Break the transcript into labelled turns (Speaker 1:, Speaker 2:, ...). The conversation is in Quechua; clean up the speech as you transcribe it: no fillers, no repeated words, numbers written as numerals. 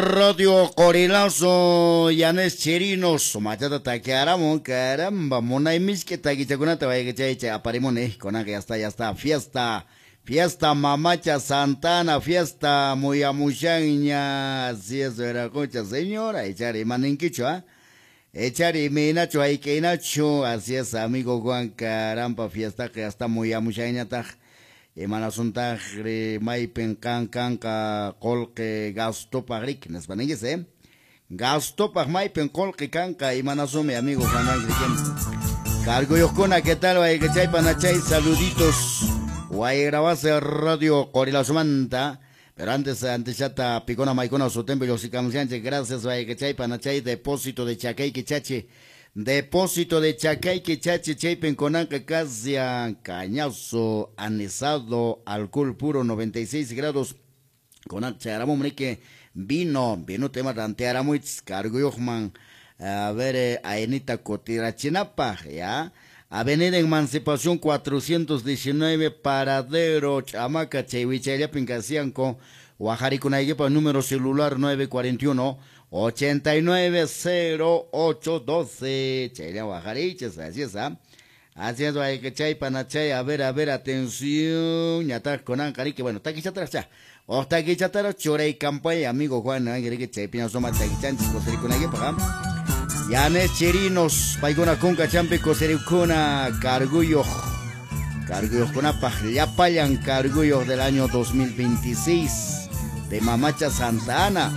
Speaker 1: Radio Qorilazo, Yanes Chirinos, sumachata takiaramun, caramba, munay miski takichakunata wayqichay aparimuni, kunanqa ya está, fiesta, fiesta Mamacha Santana, fiesta muyamushanña, así es, Veracocha, señora, echar imaninkichu, ¿ah? Echar imaynachu, hayk'aynachu, así es, amigo Juan, caramba, fiestaqa ya está muyamushanñataq. Imanasuntaqri maypin kan kanqa qolqe gastopaq riki nispa ninchis, eh? Gastopaq maypin qolqe kanqa imanasumi, amigo Juan Ángel. Carguyuqkuna, ¿qué tal? Wayqichay panachay, saluditos. Wayrabase Radio Qorilazumanta. Pero antes, antes ya picona maicona su templo y gracias, wayqichay panachay, depósito de Chacay Quichachi. Depósito de Chacay Quichachi, chaypin kunanqa kasia, cañazo, anisado, alcohol puro, 96 grados. Kunanqa chayaramun riki vino, vino tema rantearamuich, carguyuqman, a ver, ainita kutirachinapaq, ya. Avenida Emancipación 419, Paradero, Chamaca, Chaywichayllapin kasianko, Wajarikunaykipaq número celular 941 890812. Chaylla wajarichis, así es, ¿ah? Así es, chay panachay, a ver, atención, ñataq kunanqa riki, bueno, takichataraq cha. O takichataraq churay campaña, amigo Juan, riki chaypiña suma takichanchis kusirikunaykipaq, ¿ah? Yanes Chirinos, paykuna kunka champi kusirikuna, carguyuq, carguyuqkunapaq, llapallan carguyuq del año 2026 de Mamacha Santa Ana.